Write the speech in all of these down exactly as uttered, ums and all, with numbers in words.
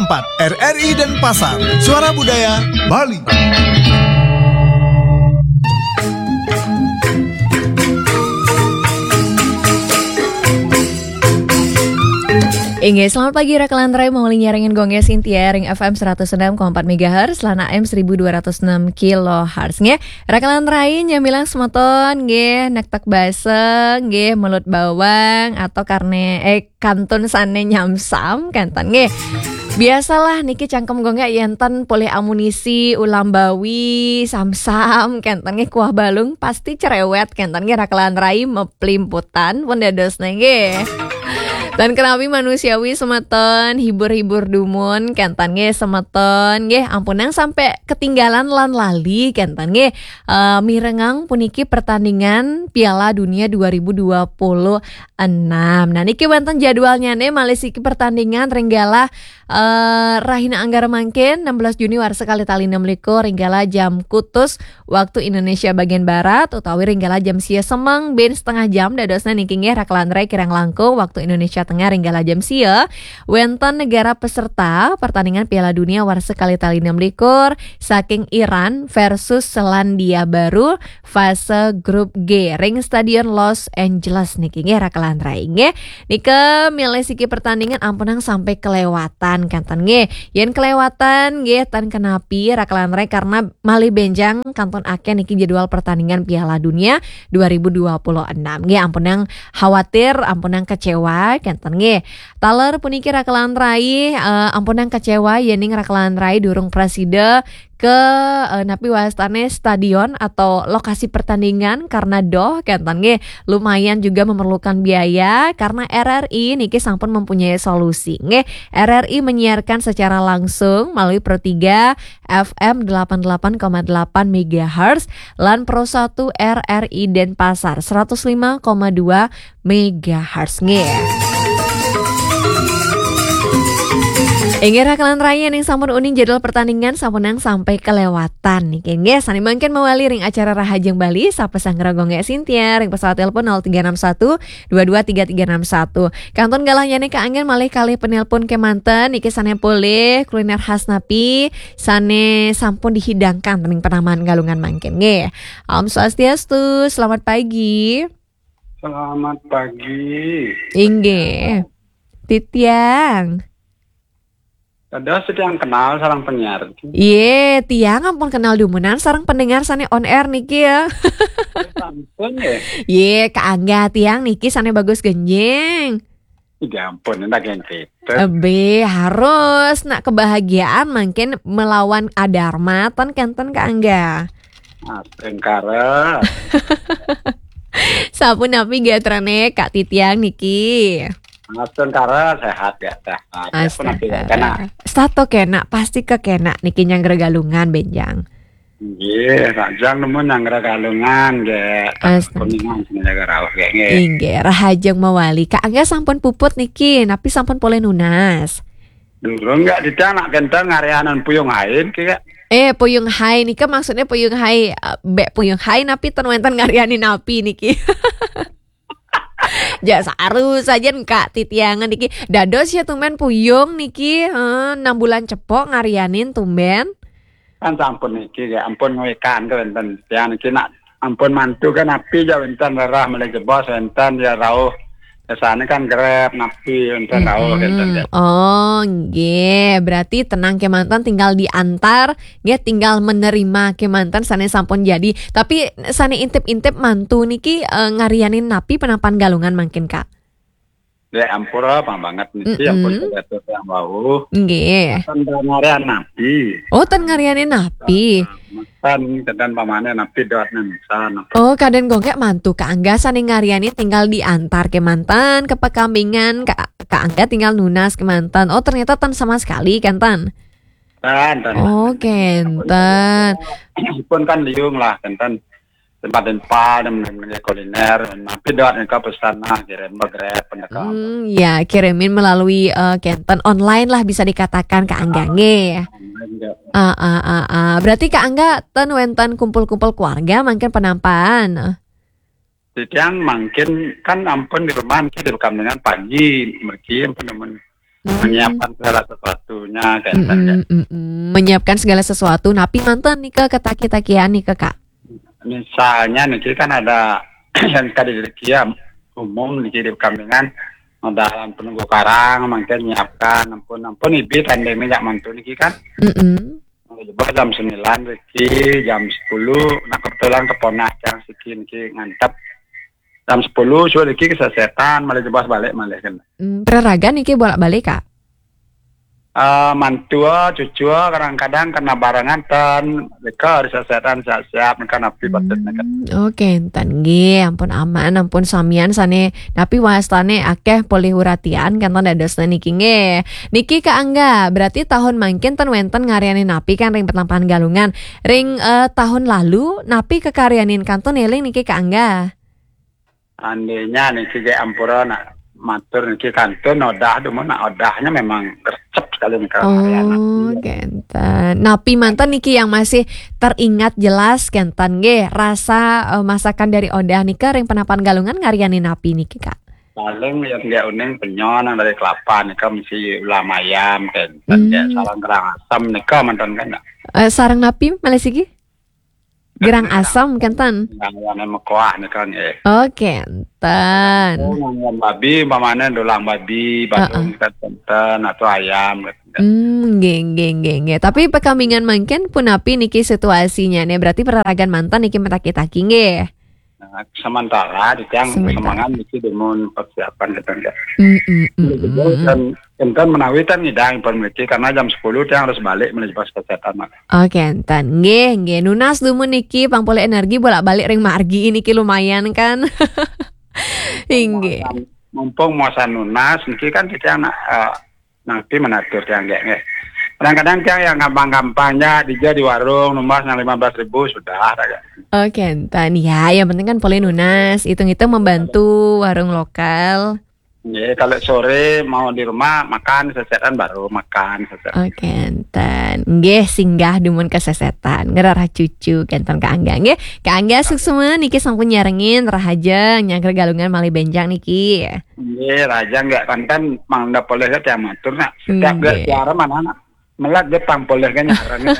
empat R R I Denpasar, Suara Budaya Bali. Inggih, selamat pagi, Raka lan Rai, mawali nyarengin Gong Sintia ring F M seratus enam koma empat megahertz, lan A M seribu dua ratus enam kilohertz, nggih. Raka lan Rai, nyamilang semeton, nggih, nektek baseng, nggih, melut bawang, atau karne, eh, kantun sane nyamsam, kenten, nggih. Biasalah niki cangkem Gong yen ten polih amunisi, ulam bawi, samsam, kenten, nggih, kuah balung, pasti cerewet, kenten, nggih, Raka lan Rai, meplimputan, pun dadosne, nggih. Tan kenapi manusiawi semeton, hibur-hibur dumun, kenten, nggih, semeton, nggih, ampunang sampai ketinggalan lan lali, kenten, nggih. Eh, mirengang puniki pertandingan Piala Dunia dua ribu dua puluh enam. Nah, niki wenten jadwalnyane, malih siki pertandingan ring galah, eh, rahina Anggara mangkin, enam belas Juni warsa kalih tali enam likur, ring galah jam kutus waktu Indonesia bagian barat, utawi ring galah jam sia semeng bin setengah jam, dadosne niki, nggih, Raka lan Rai, kirang langkung waktu Indonesia Tengah ring galah jam sia, wenten negara peserta pertandingan Piala Dunia warsa kalih tali enam likur saking Iran versus Selandia Baru, fase grup G ring Stadion Los Angeles niki, nggih, Raka lan Rai, nggih. Nika milih siki pertandingan ampunang sampai kelewatan, kenten, nggih. Yen kelewatan, nggih, tan kenapi, Raka lan Rai, karena malih benjang kantun akeh niki jadwal pertandingan Piala Dunia dua ribu dua puluh enam. Nggih, ampunang khawatir, ampunang kecewa, kenten, nggih. Taler puniki, Raka lan Rai, eh, ampunang kecewa yening Raka lan Rai durung prasida ke, eh, napi wastane stadion atau lokasi pertandingan karena doh, kenten, nggih, lumayan juga memerlukan biaya, karena R R I niki sampun mempunyai solusi, nggih. R R I menyiarkan secara langsung melalui Pro tiga F M delapan delapan koma delapan megahertz lan Pro satu R R I Denpasar seratus lima koma dua megahertz, nggih. Inggih, Raka lan Rai, ning sampun uning jadwal pertandingan sampunang sampai kelewatan niki, nggih. Sane mangkin mawali ring acara Rahajeng Bali, sapa sanggra Gong Sintia ring pesawat telepon nol tiga enam satu dua dua tiga tiga enam satu. Kantun galahnyane kaanggen malih kalih penelpon kemanten, niki sane polih kuliner khas napi sane sampun dihidangkan ring Penaman Galungan mangkin, nggih. Om Swastiastu, selamat pagi. Selamat pagi. Inggih. Titiang. Dados titiang kenal sareng penyiar. Ye, tiang ampun kenal dumunan sareng pendengar sane on air niki, ya. Sampun, ya. Ye, kaangga tiang niki sane bagus genjing. Ya ampun, enak yang gitu. Ebe, harus nak kebahagiaan mangkin melawan adarma, ten kenten kaangga. Astungkara. Sapunapi gatrane Kak Titiang niki? Astungkara, sehat, ya, sehat. Sapunapi kena? Astaga. Sato kena, pasti kekena niki nyanggra Galungan, benjang. Nggih, Rahajeng nemu nyanggra Galungan, nggih. Astaga. Kuningan sing jaga rauh, nggih, nggih. Inggih, Rahajeng mawali. Kaangga sampun puput niki, napi sampun polih nunas? Durung, nggak, titiang nak kenten ngarianan puyung hain, ki, Kak. Eh, puyung hai nika maksudnya puyung hai, eh, bek puyung hai napi ten wenten ngarianin napi niki? Ja saru saja Kak Titiangan niki. Dados ya tumben puyung niki, eh, enam bulan cepok ngarianin tumben. Kan sampun niki, ya ampun, ngwekan ke wenten. Tiang niki nak ampun mantu kan napi ja wenten rerah malih jebos wenten ya rauh. Biasane kan Grab napi wenten rauh wenten ya. Oh, nggih. Berarti tenang kemanten, tinggal diantar, nggih, tinggal menerima kemanten sane sampun jadi. Tapi sane intip-intip mantu niki, eh, ngarianin napi Penaman Galungan mangkin, Kak? Ya, ampura, pang banget niki, ampun, mm-mm, kebetulan yang wau. Nggih. Kan ngarian napi? Oh, ten ngarianin napi? Kan kenten pamane napi dot nen sana. Oh, kaden Gong mantu kaangga sane ngarianin tinggal diantar kemanten ke pekampingan, ka-, kaangga tinggal nunas kemanten. Oh, ternyata ten sama sekali, kenten? Ten, ten. Oh, kenten. Pun kan liung lah, kenten. Tempat-tempat yang mengenai kuliner, napi dot nika pesan nah, kirim begrep, pendekam. Hmm, ya, kirimin melalui, eh, kenten online lah bisa dikatakan kaangga, nggih. Online, nggih. Ah, ah, ah, ah. Berarti kaangga ten wenten kumpul-kumpul keluarga mangkin Penaman? Titiang mangkin kan ampun di rumah niki di Pekamlingan pagi, mriki ampun nemen. Hmm. Menyiapkan segala sesuatunya, kan, kan, ya. Mm-mm, mm-mm. Menyiapkan segala sesuatu. Napi manten nika kataki-takian nika, Kak? Misalnya niki kan ada yang tadi diri kia umum niki di Kamingan, ada penunggu karang, mungkin nyiapkan, ampun, ampun, ibi tanding minyak mantu niki kan. Mm-mm. Jebos jam sembilan riki, jam sepuluh, nah, kebetulan keponak yang siki niki ngantep. Jam sepuluh, sudah niki kesesetan, malah jebos balik, malah kan. Hmm, peraragan niki bolak-balik, Kak? Eh, mantua, cucu, kadang-kadang kena barengan ten, mereka disesetan siap-siap, mereka napi patut mereka. Hmm, oke, enten nggih, ampun aman, ampun samian sane, napi wastane akeh polih uratian, kenten dadosne niki nggih. Niki Kak Angga, berarti tahun mangkin ten wenten ngaryanin napi kan ring Penampahan Galungan. Ring, eh, tahun lalu, napi kakaryanin kantun eling niki Kak Angga? Andainya niki ge ampura nak matur niki kantun odah dumun nak odahnya memang gercep sekali nih kalau hari anak. Oh, iya. Kenten. Napi manten niki yang masih teringat jelas kenten nggih rasa, eh, masakan dari odah nika ring Penampahan Galungan ngaryanin napi niki, Kak? Paling yang dia uning penyon yang dari kelapa nika mesti ulam ayam kenten, ya, hmm, sarang kerang asam nika manten kan, nak? Eh, sarang napi malih siki? Gerang asam kenten. Yang, yang mekoah nih kan, eh. Oh, kenten. Oh, yang babi, umpamane dulang babi, heeh, badung kenten, atau ayam, kenten. Hmm, nggih, nggih, nggih, nggih. Tapi pekamingan mangkin punapi niki situasinya nih? Berarti peraragan manten niki mataki-taki nggih. Nah, sementara di tiang sementara. Semangat niki dumun persiapan kenten, ya. Mm, mm, mm, mm, mm. Dan Enten menawi ten ngidang pun mriki, karena jam sepuluh tiang harus balik menuju pas kesehatan, Mak. Oke, enten. Nggih, nggih. Nunas dumun niki pang polih energi bolak-balik ring margi niki lumayan kan. Inggih. Mumpung muasan, mumpung muasan nunas niki kan tiang nak, eh, nanti menatur tiang nggih, nggih. Kadang-kadang tiang yang gampang-gampangnya dija di warung numbas yang lima belas ribu sudah, ya. Oke, enten. Ya, yang penting kan polih nunas, hitung-hitung membantu warung lokal. Nggih, kalau sore mau di rumah makan sesetan baru makan sesetan. Oke, enten. Nggih, singgah dumun kesesetan. Ngerarah cucu kenten Kak Angga nggih. Kak Angga suksma niki sampun nyarengin rahajeng nyangker Galungan malih benjang niki. Nggih, rahajeng nggih kenten mangda polih ke tiang matur nak. Setiap nggih. Nggih siaran mana nak? Melat dia pang polih kan nyaran.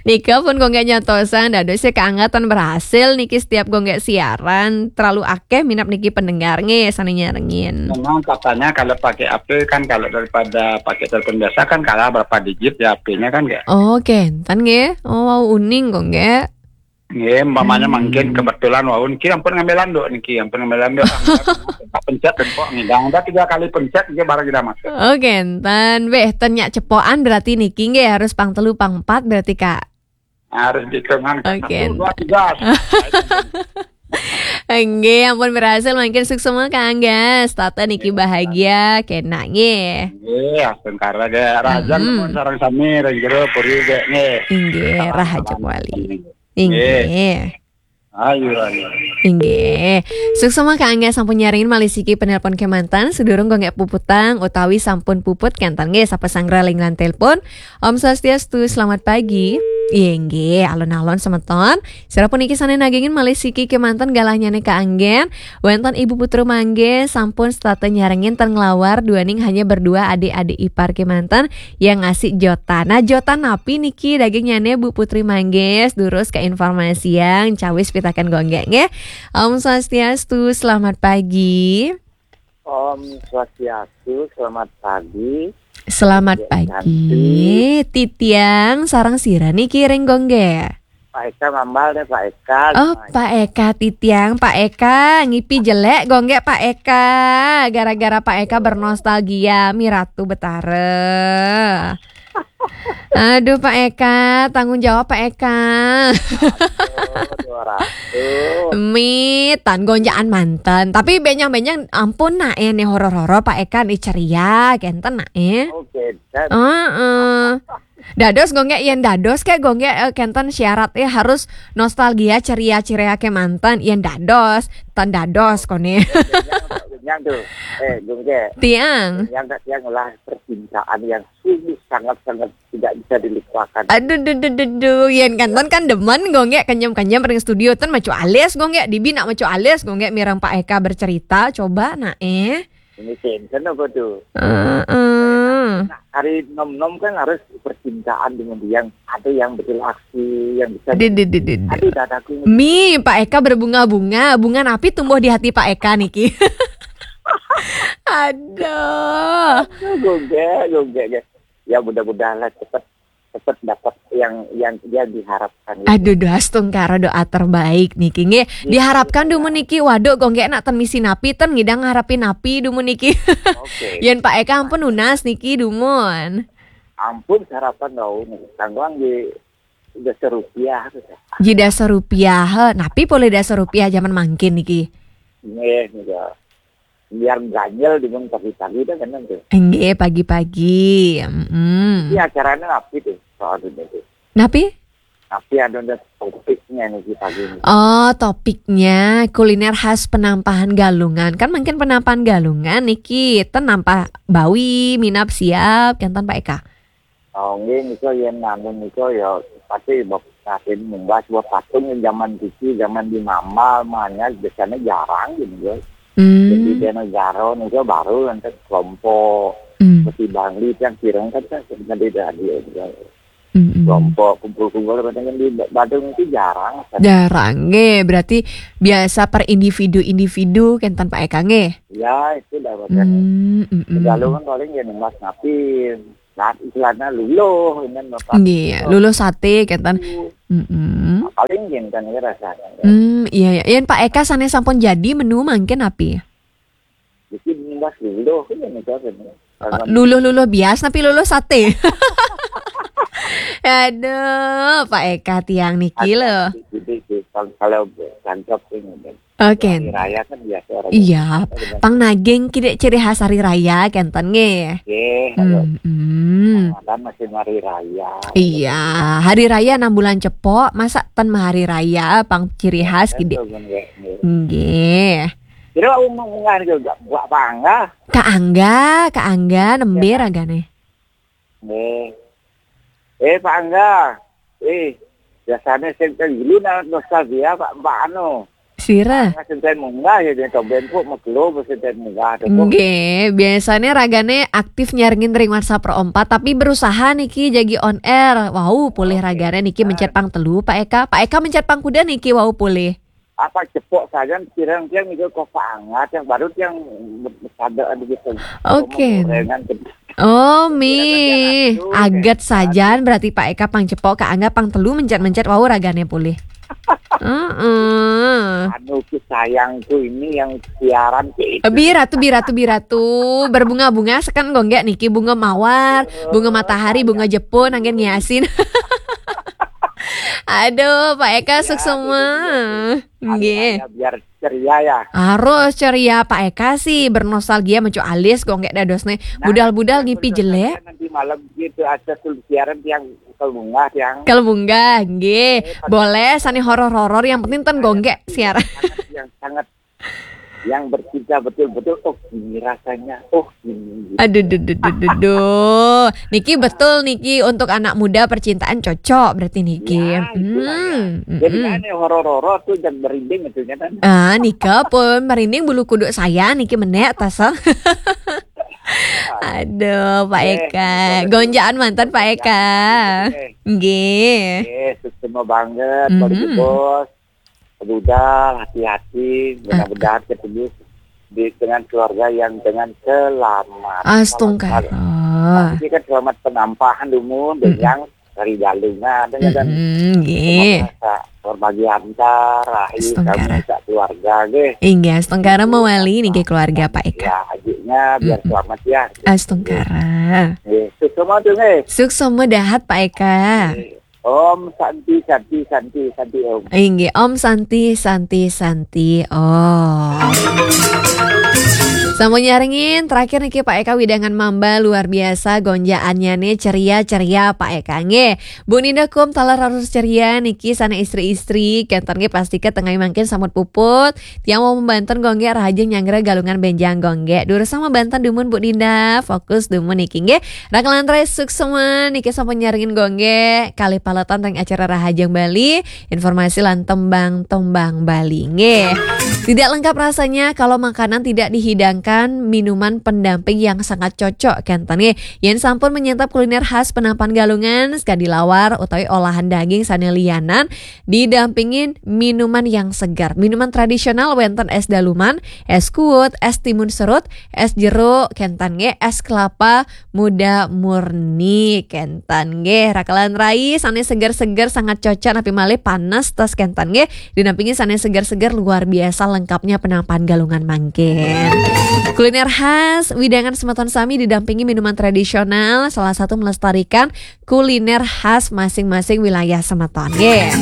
Nika pun Gung Gek nyantosang, dados ya keangatan berhasil niki setiap Gung Gek siaran, terlalu akeh minab niki pendengar nggih sane nyarengin. Memang katanya kalau pakai H P kan, kalau daripada pakai telepon biasa kan kalah berapa digit ya H P-nya kan, nggih? Oh, kenten nggih. Oh, wau uning Gung Gek. Nggih, umpamanya hmm. Mungkin kebetulan wau niki ampun ngambil landuk niki, ampun ngambil landuk. Tak pencet tempok ngidang, dah tiga kali pencet nggih barang tidak masuk. Oke, enten weh, ten nyak cepokan berarti niki nggih harus pang telu pang empat berarti, Kak. Harus dihitungan, Kak. Oke. Satu, dua, tiga. Nggih, ampun berhasil mangkin suksma Kak Angga. Setata niki bahagia kena nggih. Nggih, astungkara nggih. Rahajeng hmm. Nuwun sareng sami ring jero puri nggih. Inggih, rahajeng wali. Inggih. Ayu, ayu. Inggih. Suksma Kak Angga sampun nyarengin malih siki penelpon kemanten, sedurung Gung Gek puputang utawi sampun puput kenten nggih sapa sanggra ring line telepon. Om Swastiastu, selamat pagi. Inggih, alon-alon semeton. Sira puniki sane nagingin malih siki kemanten galahnyane Kak Anggen. Wenten Ibu Putra Mangge sampun setata nyarengin ten nglawar duaning hanya berdua adik-adik ipar kemanten yang ngasih jotan. Nah, jotan napi niki dagingnyane Bu Putri Mangge? Durus ke informasi yang cawis pitaken Gung Gek nggih. Om Swastiastu, selamat pagi. Om Swastiastu, selamat pagi. Selamat pagi. Titiang sareng sira niki ring Gung Gek? Pak Eka mambal deh, Pak Eka. Oh, Pak Eka titiang, Pak Eka ngipi jelek Gung Gek Pak Eka. Gara-gara Pak Eka bernostalgia mi Ratu Betara. Aduh, Pak Eka, tanggung jawab, Pak Eka. Aduh, dua ratus. Mitan gonjakan manten. Tapi benjang-benjang ampun nak eh, nih horor-horor Pak Eka nih ceria kenten nak eh. Oke, dan heeh. Dados Gung Gek yen dados kek Gung Gek, eh, kenten syarat eh harus nostalgia ceria-ceria kemanten yen dados, ten dados kone. Kenyang, kenyang tuh. Eh, Gung Gek. Tiang. Kenyang tak tiang lah percintaan yang sungguh sangat-sangat tidak bisa dilupakan. Aduh, duh, duh, duh, duh. Yen kenten kan demen Gung Gek kenyem-kenyem ring studio ten macu alis Gung Gek, dibi nak macu alis Gung Gek mireng Pak Eka bercerita, coba nak eh. Ini Clinton apa tuh? Heeh. Nah, hari nom-nom kan harus percintaan dengan yang ada yang betul aksi, yang bisa. Di, di, di, di, di. Aduh, dadaku. Mi, Pak Eka berbunga-bunga. Bunga napi tumbuh di hati Pak Eka niki? Aduh. Aduh, gue gak, gue gak, gak. Ya, mudah-mudahan lah cepet, cepet dapat yang, yang, yang diharapkan gitu. Aduh, doa setungkara, doa terbaik niki nggih. Iya. Diharapkan dumun niki, waduh, kok nggih nak ten misi napi, ten ngidang ngarepin napi dumun niki. Oke. Yen Pak Eka ampun nunas niki dumun. Ampun sarapan tau nih, tangguang di dasa rupiah gitu. Ji dasa rupiah, he. Napi polih dasa rupiah zaman mangkin niki? Nggih, nggih. Biar ganjel dumun pagi-pagi dah kan tuh. Nggih, pagi-pagi. Mm-mm. Ini acaranya napi tuh, soal ini tuh. Napi? Napi ada, ada topiknya nih di pagi ini. Oh, topiknya kuliner khas Penampahan Galungan. Kan mungkin Penampahan Galungan niki ten nampah bawi, minab siap, kenten Pak Eka. Oh, nggih, nika yen anu nika ya pasti bab-, pasti munggah sebuah patung yang zaman kecil, zaman di Mamal, makanya biasanya jarang gitu, ya. Hmm. Jadi di negara nika baru nanti kelompok, hmm, seperti Bangli yang kirang kan, kan, kan tidak ada, ya. Hmm, hmm. Kelompok kumpul-kumpul kadang kan di Ba-, Badung itu jarang. Jarang, nggih. Berarti biasa per individu-individu, kenten Pak Eka, nggih? Ya, itu dah, Pak. Hmm, hmm, hmm. Galungan paling ya Mas Napin. Nah, istilahnya luluh, ini Bapak. Nggih, luluh sate, kenten. Hmm. Nah, paling gini kan ya rasanya. Hmm, iya, iya. Yen Pak Eka sané sampun jadi menu mangkin napi? Jadi, Mas, luluh, ini nih, Mas, ini. Eh, luluh-luluh bias, napi luluh sate? Aduh, Pak Eka tiang niki lho. Jadi, kalau, kalau tangkap ini, kan. Oke. Hari raya kan biasa orang. Iya, pang naging ki ciri khas hari raya, kenten nggih? Nggih, hmm, hmm. Kan masih hari raya. Iya, hari raya enam bulan cepok, masa ten mah hari raya, pang ciri khas gede. Nggih, nggih. Nggih. Kira umum nggak juga buat bangga. Kak Angga, Kak Angga, nembé ragané. Nggih. Eh, Pak Angga. Eh, biasanya sing dulu na-, nostalgia, Pak, Pak anu. Sira. Angga sing ten munggah ya, den tomben kok megelo sing ten munggah to, kok. Nggih, biasanya ragané aktif nyarengin ring WhatsApp Pro empat, tapi berusaha niki jagi on air. Wau, polih ragané niki mencet pang telu, Pak Eka. Pak Eka mencet pang kuda niki, wau polih. Apa cepok saja, kirang-kirang itu kok Pak Angga, yang baru yang sadaan gitu. Oke. Gorengan gitu. Oh, mi. Aget sajan, berarti Pak Eka pang cepok, Kak Angga pang telu mencet-mencet, wau ragané polih. Heeh. Anu ki sayangku ini yang siaran ki. Eh, biratu, biratu, biratu. Berbunga-bunga seken kok nggih niki, bunga mawar, bunga matahari, bunga Jepun, anggen ngiasin. Aduh, Pak Eka, ya, suksema. Gitu, gitu. Nggih. Biar ceria ya. Harus ceria, Pak Eka sih bernostalgia mencu alis kok nggih dadosné. Nah, budal-budal ngipi jelek. Nanti malam gitu ada siaran yang kelbungah yang. Kelbungah, nggih. Eh, boleh, sané horor-horor, yang penting ten gonggek siaran. Yang sangat, yang sangat, yang bercinta betul-betul, oh, ini rasanya, oh, ini. Aduh, duh, duh, duh, duh, duh. Niki betul niki untuk anak muda percintaan cocok berarti niki. Ya, itulah ya. Hmm, jadi mm-mm. Kan yang horor-horor tuh jangan merinding itu kan. Ah, nika pun merinding bulu kuduk saya niki menek tasang. Aduh, Pak Eka. Eh, gonjaan mantan Pak Eka. Eh. Nggih. Eh, suksema banget, mm-hmm. Bos. Budal, hati-hati, mudah-mudahan ketemu di, dengan keluarga yang dengan selamat. Astungkara. Selamat, selamat. Ini kan selamat penampahan dumun, mm-mm, yang dari Galungan, dengan, mm-mm, nggih. Semoga sa-, berbahagia antar, rahi, astungkara. Kamu sak keluarga, nggih. Inggih, astungkara mawali niki keluarga, Pak Eka. Ya, adiknya biar, mm-mm, selamat ya. Astungkara. Nggih, suksema tuh, nggih. Suksema dahat, Pak Eka. Nggih. Om Santi, Santi, Santi, Santi, Om. Inggih, Om Santi, Santi, Santi, Om. Sama nyarengin, terakhir niki Pak Eka widangan mamba luar biasa gonjaannya nih, ceria-ceria Pak Eka nggih. Bu Ninda kum taler harus ceria niki sana istri-istri, kenten nggih pasti ke tengah mangkin samut puput. Tiang mau membanten gonggek rahajeng nyanggra Galungan benjang gonggek. Durus sama banten dumun Bu Ninda, fokus dumun niki nggih. Rakalan rai suksema niki sampun nyarengin gonggek kalih paletan teng acara Rahajeng Bali, informasi lan tembang-tembang Bali nggih. Tidak lengkap rasanya kalau makanan tidak dihidangkan minuman pendamping yang sangat cocok, kenten nggih. Yen sampun menyantap kuliner khas Penampakan Galungan, sekadi lawar utawi olahan daging sane liyanan, didampingin minuman yang segar. Minuman tradisional wenten es daluman, es kuwut, es timun serut, es jeruk, kenten nggih, es kelapa muda murni, kenten nggih. Rakelan rai sane seger-seger sangat cocok napi malih panas tos, kenten nggih. Didampingi sane seger-seger luar biasa lengkapnya Penampakan Galungan mangkin. Kuliner khas widangan semeton sami didampingi minuman tradisional, salah satu melestarikan kuliner khas masing-masing wilayah semeton nggih.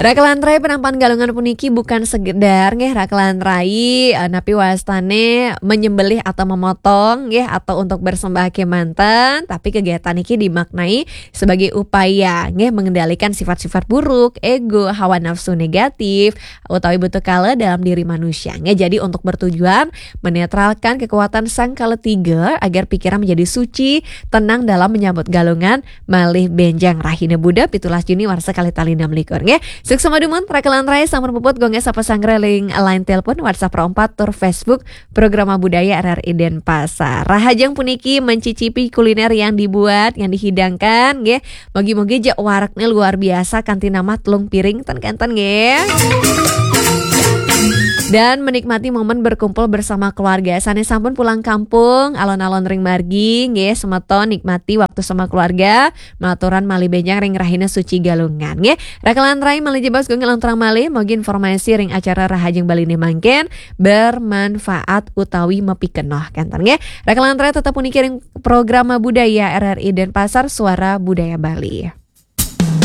Rakelan rai Penampakan Galungan puniki bukan sekedar nggih rakelan rai, eh, napi wastane menyembelih atau memotong nggih atau untuk bersembah kemanten, tapi kegiatan niki dimaknai sebagai upaya nggih mengendalikan sifat-sifat buruk, ego, hawa nafsu negatif, utawi butuh kala dalam diri manusia nggih. Jadi untuk bertujuan menetralkan kekuatan sang kala tiga agar pikiran menjadi suci, tenang dalam menyambut Galungan malih benjang rahina Buda pitulas Juni warsa kalih tali enam likur nggih. Suksma dumun, rakelan rai sampun puput gongge sapa sanggra ring line telepon, WhatsApp empat tur Facebook Programa Budaya R R I Denpasar. Rahajeng puniki mencicipi kuliner yang dibuat, yang dihidangkan nggih. Mogi-mogi jek warekne luar biasa kanthi namah telung piring ten kenten nggih. Dan menikmati momen berkumpul bersama keluarga. Sane sampun pulang kampung, alon-alon ring margi nggih, semeton nikmati waktu sama keluarga, maturan malih benjang ring rahina suci Galungan nggih. Rakelan rai malih jebos gongge lontrang malih, mogi informasi ring acara Rahajeng Bali ne mangkin bermanfaat utawi mapikenoh, kenten nggih. Rakelan rai tetep puniki ring Programa Budaya R R I Denpasar, Suara Budaya Bali.